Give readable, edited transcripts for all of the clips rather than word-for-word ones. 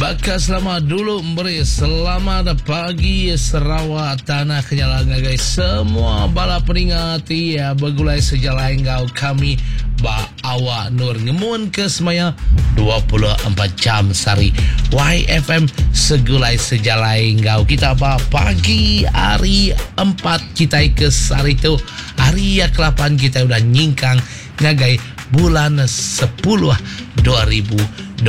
Baka selama dulu meri selamat pagi Sarawak Tanah Kenyala ngagai semua bala peninga ti begulai sejalai enggau kami ba awak nur ngemun ke semaya 24 jam sehari YFM segulai sejalai enggau kita ba pagi hari empat kitai ke sehari tu hari ya kelapan kitai udah nyingkang ngagai bulan sepuluh 2026.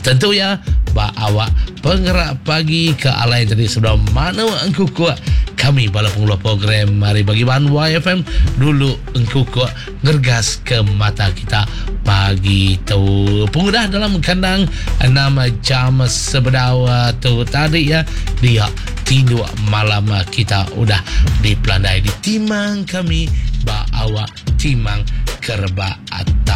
Tentu iya ba awak pengerak pagi ke alai tadi sebedau manuk engkukuk kami bala pengeluar program hari bagi bahan YFM dulu engkukuk ngergas ke mata kita pagi tu. Pengudah dalam kandang 6 jam sebedau eh, tu tadi ya dia tinduk malam kita udah dipelandai ditimang kami ba awak timang kerebak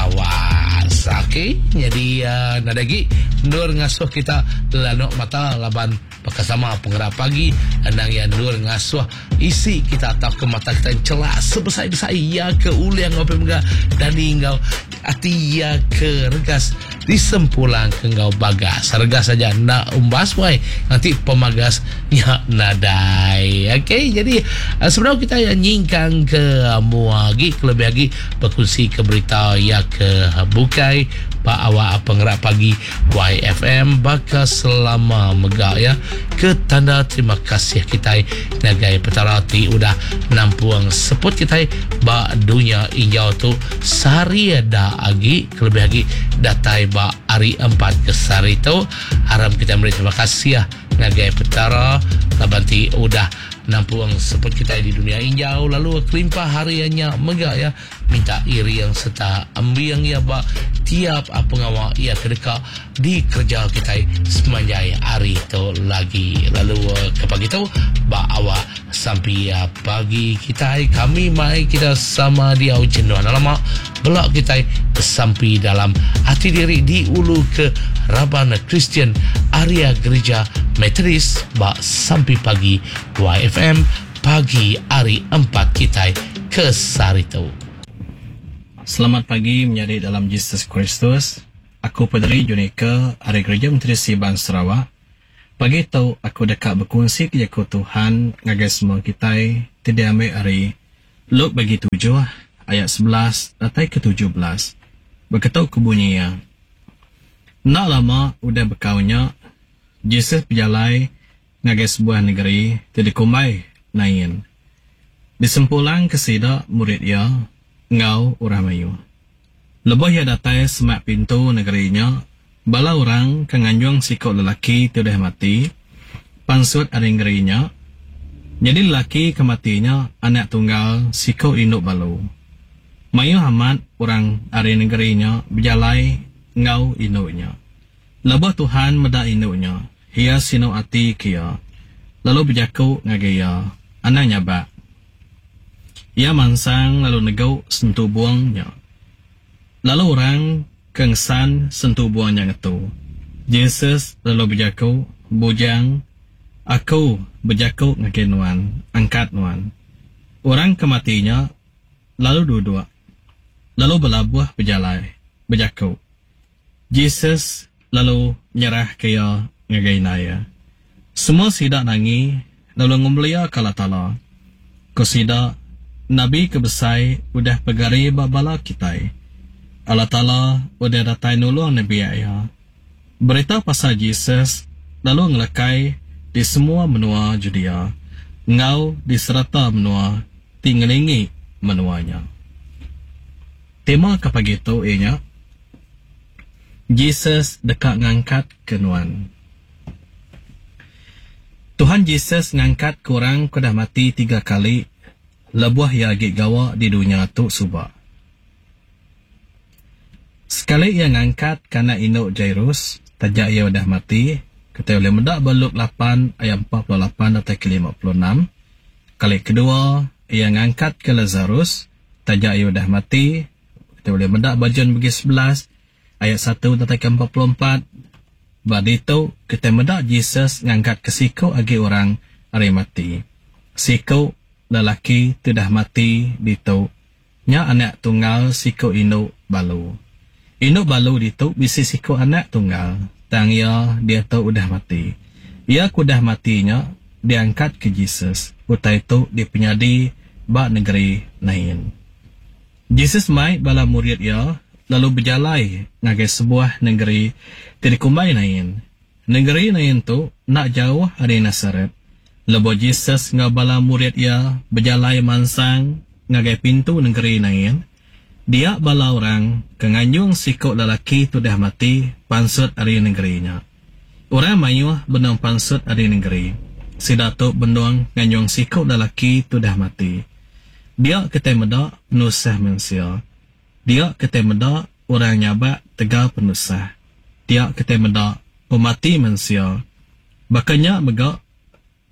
tawas. Okey, jadi uh, nadai agi endur ngasuh kita lanuk mata laban baka sama pengerak pagi endang iya endur ngasuh isi kita atau ke mata kita celak sebesai-besai iya ke ulih enggau mega dani enggau ati iya ke regas Disempulang ke enggau bagas. Regas aja enda umbas wai nganti pemagas nya nadai. Okey jadi eh, sebedau kita ya nyingkang ke mua agi kelebih agi bekunsi ke berita ya ke bukai ba awak pengerak pagi YFM baka selama mega ya ke tanda terima kasih kitai ngagai Petara ti udah nampung seput kitai ba dunya injau tu sehari da agi. Kelebih agi datai ba hari empat ke sehari tu, aram kitai meri terima kasih ngagai Petara laban ti udah nampung seput kitai di dunya injau lalu kelimpah hari nya mega iya minta iring sereta embing iya ba tiap pengawa iya ke deka dikereja kitai semanjai hari tu lagi. Lalu ke pagi tu ba awak sampi pagi kitai kami mai kita sama diau jenuh enda lama bela kitai besampi dalam ati diri diulu ke raban Kristian Area Gerija Methodist ba sampi pagi YFM pagi hari empat kitai ke sehari tu. Selamat pagi menyadi dalam Jesus Kristus. Aku Paderi Junica ari Gerija Menteri Siban Sarawak. Pagi tu aku deka bekunsika jaku Tuhan ngagai semua kitai ti diambi ari Luke bagi tujuh ayat 11 datai ke 17. Beketu ku bunyi iya. Enda lama udah bekau nya, Jesus bejalai ngagai sebuah negeri ti dikumbai Nain. Disempulangka sida murid iya enggau orang mayuh. Lebuh iya datai semak pintu negeri nya, bala orang ke nganjung siku lelaki ti udah mati, pansut ari nengeri nya. Nyadi lelaki ke mati nya anak tunggal siku indu balu. Mayuh amat orang ari nengeri nya bejalai enggau indu nya. Lebuh Tuhan meda indu nya, Iya sinu ati ke iya, lalu bejaku ngagai iya, Anang nyabak. Iya mansang lalu negu sentubung nya. Lalu orang ke ngesan sentubung nya ngetu. Jesus lalu bejaku, Bujang, Aku bejaku ngagai nuan, angkat nuan. Orang ke mati nya lalu duduk, lalu belabuh bejalai, bejaku. Jesus lalu nyerahka iya ngagai indai iya. Semua sida nangi lalu ngemeliaka Allah Taala. Ku sida, Nabi ke besai udah pegari ba bala kitai. Allah Taala udah datai nulung nembiak Iya. Berita pasal Jesus lalu ngelekai di semua menua Judea enggau di serata menua ti ngelingi menua nya. Tema ke pagi tu iya nya, Jesus deka ngangkatka nuan. Tuhan Jesus ngangkatka orang ke udah mati tiga kali lebuh iya agi gawa di dunya tu suba. Sekali iya ngangkatka anak indu Jairus taja iya udah mati, kitai ulih meda ba Luke lapan ayat 48 datai ke 56. Kali kedua iya ngangkatka Lazarus taja iya udah mati, Kitai ulih meda ba John bagi 11 ayat 1 datai ke 44. Ba ditu, kitai meda Jesus ngangkatka siku agi orang ari mati. Siku lelaki ti udah mati ditu nya anak tunggal siku indu balu. Indu balu ditu bisi siku anak tunggal. Tang iya diatu udah mati. Iya ke udah mati nya diangkatka Jesus. Utai tu dipenyadi ba nengeri Nain. Jesus mai bala murid iya lalu bejalai ngagai sebuah nengeri ti dikumbai Nain. Nengeri Nain tu enda jauh ari Nasaret. Lebuh Jesus enggau bala murid iya bejalai mansang ngagai pintu nengeri Nain, dia bala orang ke nganjung siku lelaki ti udah mati pansut ari nengeri nya. Orang mayuh benung pansut ari nengeri. Sida tu benung nganjung siku lelaki ti udah mati. Dia kitai meda penusah mensia. Dia kitai meda orang nyabak tegal penusah. Dia kitai meda pemati mensia. Baka nya mega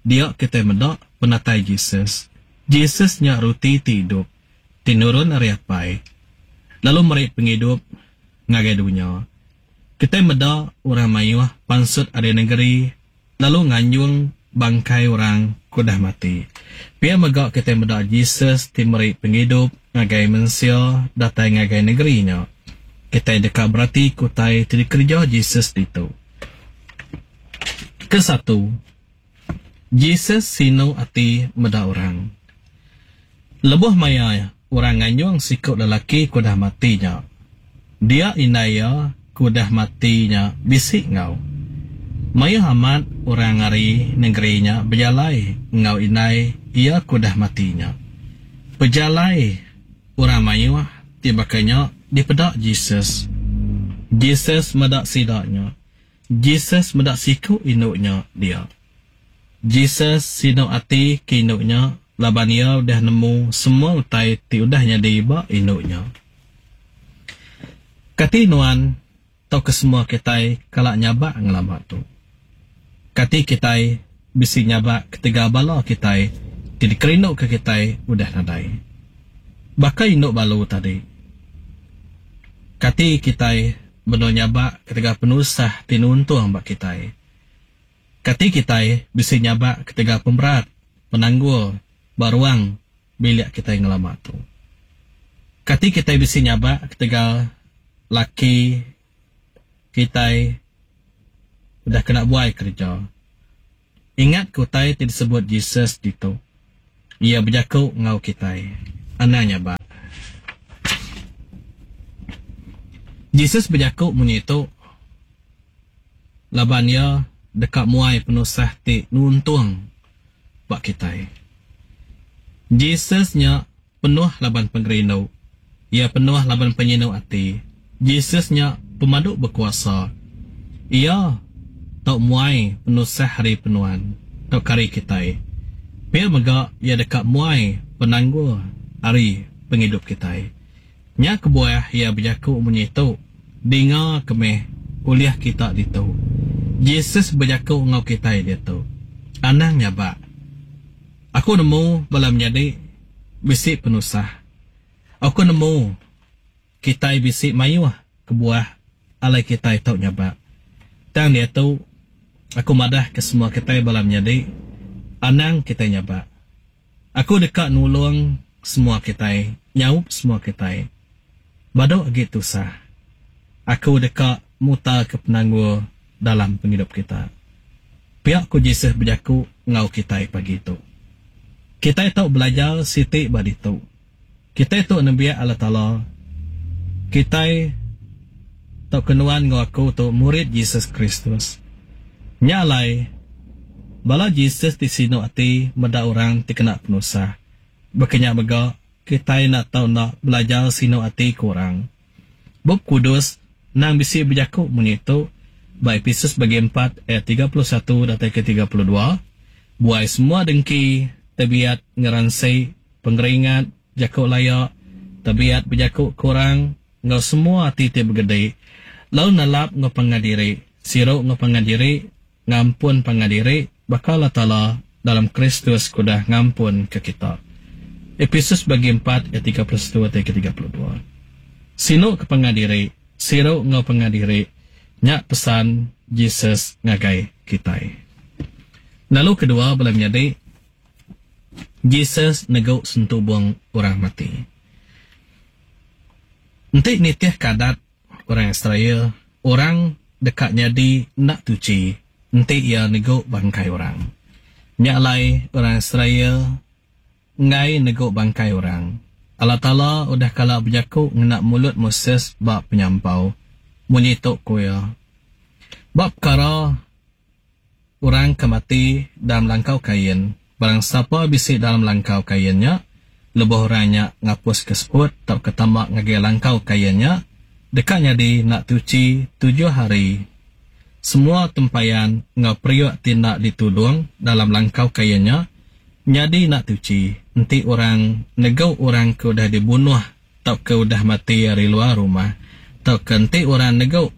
Dia kitai meda penatai Jesus. Jesus nya roti ti idup, ti nurun ari Apai, lalu meri pengidup ngagai dunya. Kitai meda orang mayuh pansut ari nengeri lalu nganjung bangkai orang ke udah mati. Pia mega kitai meda Jesus ti meri pengidup ngagai mensia datai ngagai nengeri nya. Kitai deka beratika utai ti dikereja Jesus ditu. Kesatu, Jesus sinu ati meda orang. Lebuh maya orang nganjung siku lelaki ke udah mati nya, dia indai iya ke udah mati nya bisi enggau. Mayuh amat orang ari nengeri nya bejalai enggau indai iya ke udah mati nya. Pejalai orang mayuh ti baka nya dipeda Jesus. Jesus meda sida nya. Jesus meda siku indu nya dia. Jesus sinu ati ke indu nya laban iya udah nemu semua utai ti udah nyadi ba indu nya. Kati nuan tauka semua kitai kala nyabak ngelama tu? Kati kitai bisi nyabak ketegal bala kitai ti dikerinduka kitai udah nadai? Baka indu balu tadi, kati kitai Benung nyabak ketegal penusah ti nuntung ba kitai. Kati kitai bisi nyabak ketegal pemerat penanggul ba ruang bilik kitai ngelama tu? Kati kitai bisi nyabak ketegal laki kitai udah kena buai kereja? Ingatka utai ti disebut Jesus ditu. Iya bejaku enggau kitai, Anang nyabak. Jesus bejaku munyi tu laban iya deka muai penusah ti nuntung ba kitai. Jesus nya penuh laban pengerindu. Iya penuh laban penyinu ati. Jesus nya pemadu bekuasa. Iya tau muai penusah ari penuan tauka ari kitai. Pia mega iya deka muai penanggul ari pengidup kitai. Nya kebuah iya bejaku munyi tu, Dinga ke meh ulih kita ditu. Jesus bejaku enggau kitai diatu. Anang nyabak. Aku nemu bala menyadi bisi penusah. Aku nemu. Kitai bisi mayuh kebuah alai kitai tau nyabak. Tang diatu, aku madah ke semua kitai bala menyadi, anang kitai nyabak. Aku deka nulung semua kitai, nyaup semua kitai. Badu agi tusah. Aku deka mutarka penanggul dalam pengidup kita. Pia ku Jesus bejaku enggau kitai pagi tu. Kitai tau belajar siti ba ditu. Kitai tu nembiak Allah Taala. Kitai tauka nuan enggau aku tu murid Jesus Kristus. Nya alai, bala Jesus ti sinu ati meda orang ti kena penusah. Baka nya mega, kitai enda tau enda belajar sinu ati ke orang. Bup Kudus endang bisi bejaku munyi tu ba Epesus bagi empat ayat 31 datai ke 32, Buai semua dengki, tebiat ngeransi, pengeringat, jaku laya, tebiat bejaku ke orang, enggau semua ati ti begedi, lalu nelap enggau pangan diri, siru enggau pangan diri, ngampun pangan diri, baka Allah Taala dalam Kristus ke udah ngampunka kita. Epesus bagi empat ayat 31 atai ke 32. Sinu ke pangan diri, siru enggau pangan diri, nya pesan Jesus ngagai kitai. Lalu kedua bala menyadi, Jesus negu sentubung orang mati. Enti nitihka adat orang Israel, orang. deka nyadi enda tuchi enti iya negu bangkai orang. Nya alai orang Israel enggai negu bangkai orang. Allah Taala udah kala bejaku ngena mulut Moses ba Penyampau. Munyi tu ku iya, Ba pekara orang ke mati dalam langkau kain, barang sapa bisi dalam langkau kain nya, lebuh orang nya ngapuska seput tauka tama ngagai langkau kain nya, deka nyadi enda tuchi tujuh hari. Semua tempayan enggau periuk ti enda ditudung dalam langkau kain nya nyadi enda tuchi enti orang negu orang ke udah dibunuh tauka udah mati ari luar rumah, tauka enti orang negu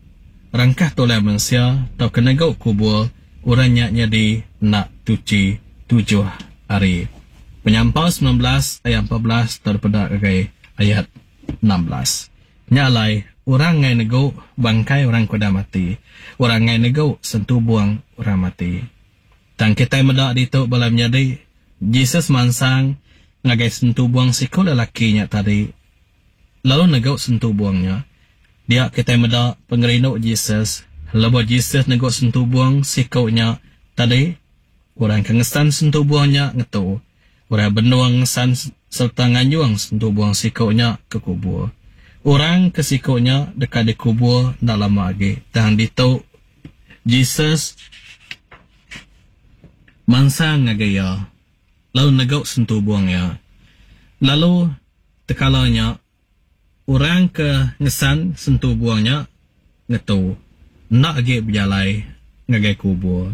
rangkah tulang mensia tauka negu kubur, orang nya nyadi enda tuchi tujuh hari. Penyampau 19 ayat 14 tau dipeda ngagai ayat 16. Nya alai, orang enggai negu bangkai orang ke udah mati. Orang enggai negu sentubung orang mati. Tang kitai meda ditu bala menyadi, Jesus mansang ngagai sentubung siku lelaki nya tadi lalu negu sentubung nya. Dia kitai meda pengerindu Jesus lebuh Jesus negu sentubung siku nya tadi, orang ke ngesan sentubung nya ngetu. Orang benung ngesan sereta nganjung sentubung siku nya ke kubur. Orang ke siku nya deka dikubur enda lama agi. Tang ditu, Jesus mansang ngagai iya lalu negu sentubung iya. Lalu tekala nya, orang ke ngesan sentubung nya ngetu, enda agi bejalai ngagai kubur.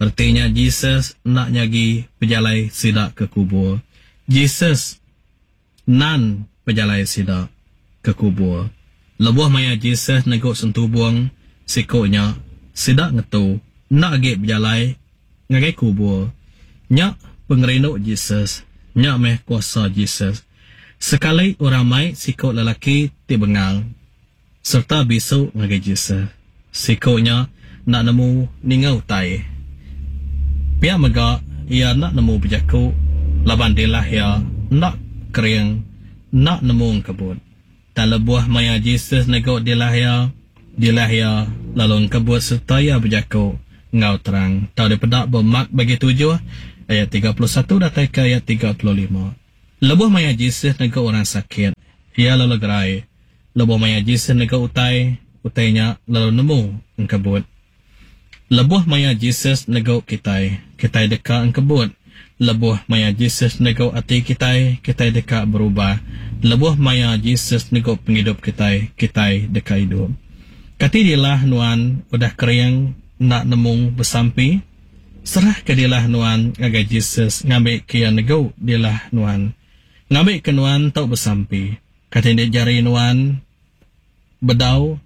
Reti nya Jesus enda nyagi pejalai sida ke kubur. Jesus nan pejalai sida ke kubur. Lebuh maya Jesus negu sentubung siku nya, sida ngetu, enda agi bejalai ngagai kubur. Nya pengerindu Jesus. Nya meh kuasa Jesus. Sekali orang mai siku lelaki ti bengal. Sereta bisu ngagai Jesus. Siku nya enda nemu ninga utai. Pia mega, iya enda nemu bejaku laban dilah iya enda kering, enda nemu engkebut. Tang lebuh maya Jesus negu dilah iya, dilah iya lalu engkebut sereta iya bejaku enggau terang. Tau dipeda ba Mark bagi tujuh ayat 31 datai ke ayat 35. Lebuh maya Jesus negu orang sakit, iya lalu gerai. Lebuh maya Jesus negu utai, utai nya lalu nemu engkebut. Lebuh maya Jesus negu kitai, kitai deka engkebut. Lebuh maya Jesus negu ati kitai, kitai deka berubah. Lebuh maya Jesus negu pengidup kitai, kitai deka idup. Kati dilah nuan udah kering enda nemu besampi? Serahka dilah nuan ngagai Jesus ngambika iya negu dilah nuan. Ngambika nuan tau besampi. Kati enda jari nuan bedau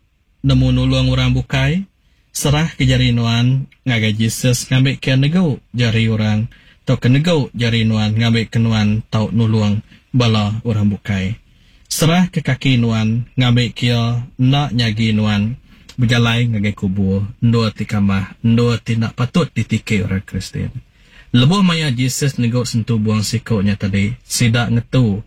nemu nulung orang bukai? Serahka jari nuan ngagai Jesus ngambika iya negu jari orang tauka negu jari nuan ngambika nuan tau nulung bala orang bukai. Serahka kaki nuan ngambika iya enda nyagi nuan bejalai ngagai kubur, endur ti kamah, endur ti enda patut ditiki orang Kristian. Lebuh maya Jesus negu sentubung siku nya tadi, sida ngetu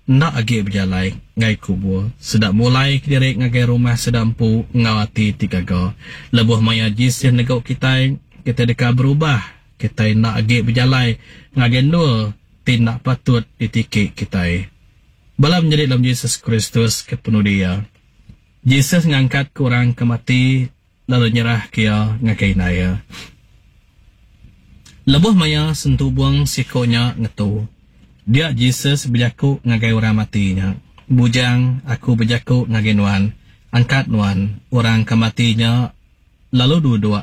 enda agi bejalai ngagai kubur. Sida mulai kediri ngagai rumah sida empu enggau ati ti gaga. Lebuh maya Jesus negu kitai, kitai deka berubah. Kitai enda agi bejalai ngagai endur ti enda patut ditiki kitai. Bala menyadi dalam Jesus Kristus ke penudi iya. Jesus ngangkatka orang ke mati lalu nyerahka iya ngagai indai iya. Lebuh maya sentubung siku nya ngetu, dia Jesus bejaku ngagai orang mati nya, Bujang, aku bejaku ngagai nuan, angkat nuan. Orang ke mati nya lalu duduk,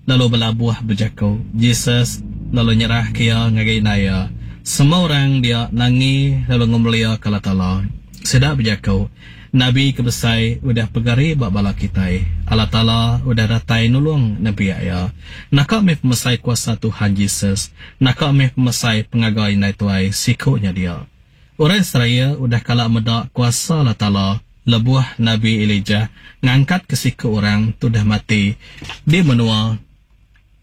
lalu belabuh bejaku. Jesus lalu nyerahka iya ngagai indai iya. Semua orang dia nangi lalu ngemeliaka Allah Taala. Sida bejaku, Nabi ke besai udah pegari ba bala kitai. Allah Taala udah datai nulung nembiak Iya. Naka meh pemesai kuasa Tuhan Jesus! Naka meh pemesai pengaga indai tuai siku nya dia! Orang Israel udah kala meda kuasa Allah Taala lebuh Nabi Elijah ngangkatka siku orang ti udah mati di menua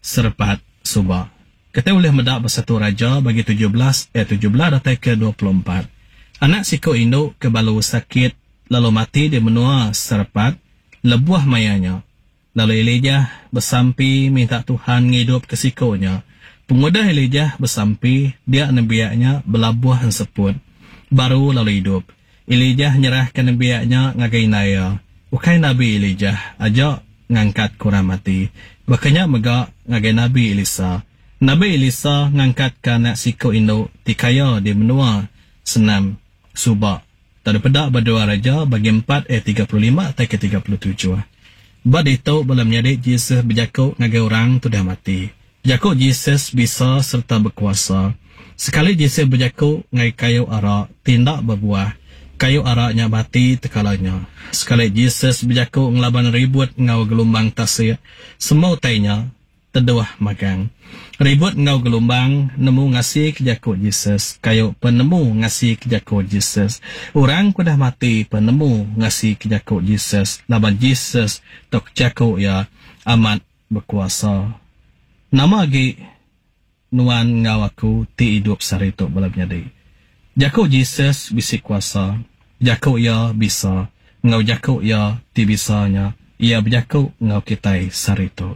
Serepat suba. Kitai ulih meda ba Satu Raja bagi 17 ayat 17 datai ke 24. Anak siku indu ke balu sakit lalu mati di menua Serepat lebuh maya nya. Lalu Elijah besampi minta Tuhan ngidupka siku nya. Pengudah Elijah besampi, dia nembiak nya belabuh enseput baru lalu idup. Elijah nyerahka nembiak nya ngagai indai iya. Ukai nabi Elijah aja ngangkatka orang mati. Baka nya mega ngagai nabi Elisa. Nabi Elisa ngangkatka anak siku indu ti kaya di menua Senam suba. Tau dipeda ba Dua Raja bagi empat ayat 35 tai ke 37. Ba ditu bala menyadi Jesus bejaku ngagai orang ti udah mati. Jaku Jesus bisa sereta bekuasa. Sekali Jesus bejaku ngagai kayu ara ti enda bebuah, kayu ara nya mati tekala nya. Sekali Jesus bejaku ngelaban ribut enggau gelumbang tasik, semua utai nya Teduh magang. Ribut enggau gelumbang nemu ngasika jaku Jesus. Kayu pen nemu ngasika jaku Jesus. Orang ke udah mati pen nemu ngasika jaku Jesus laban Jesus tauka jaku iya amat bekuasa. Nama agi nuan enggau aku ti idup sehari tu bala menyadi? Jaku Jesus bisi kuasa. Jaku iya bisa. Enggau jaku iya ti bisa nya, iya bejaku enggau kitai sehari tu.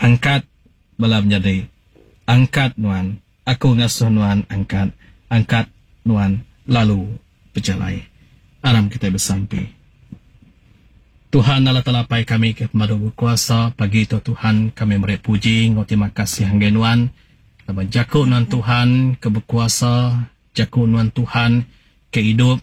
Angkat, bala menyadi. Angkat nuan. Aku ngasuh nuan angkat. Angkat nuan lalu bejalai. Aram kitai besampi. Tuhan Allah Taala Apai kami ke pemadu bekuasa, pagi tu Tuhan kami meri puji enggau terima kasih ngagai nuan laban jaku nuan Tuhan ke bekuasa, jaku nuan Tuhan ke idup.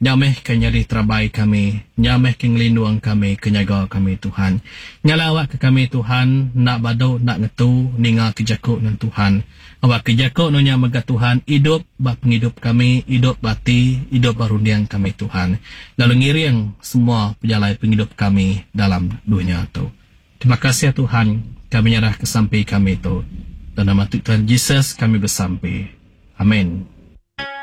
Nya meh ke nyadi terabai kami, nya meh ke ngelindung kami, ke nyaga kami Tuhan. Nya alai awakka kami Tuhan enda badu enda ngetu ningaka jaku nuan Tuhan. Awakka jaku nuan nya mega Tuhan idup ba pengidup kami, idup ba ati, idup ba runding kami Tuhan. Lalu ngiring semua pejalai pengidup kami dalam dunya tu. Terima kasih Tuhan, kami nyerahka sampi kami tu. Dalam nama Tuhan Jesus kami besampi. Amin.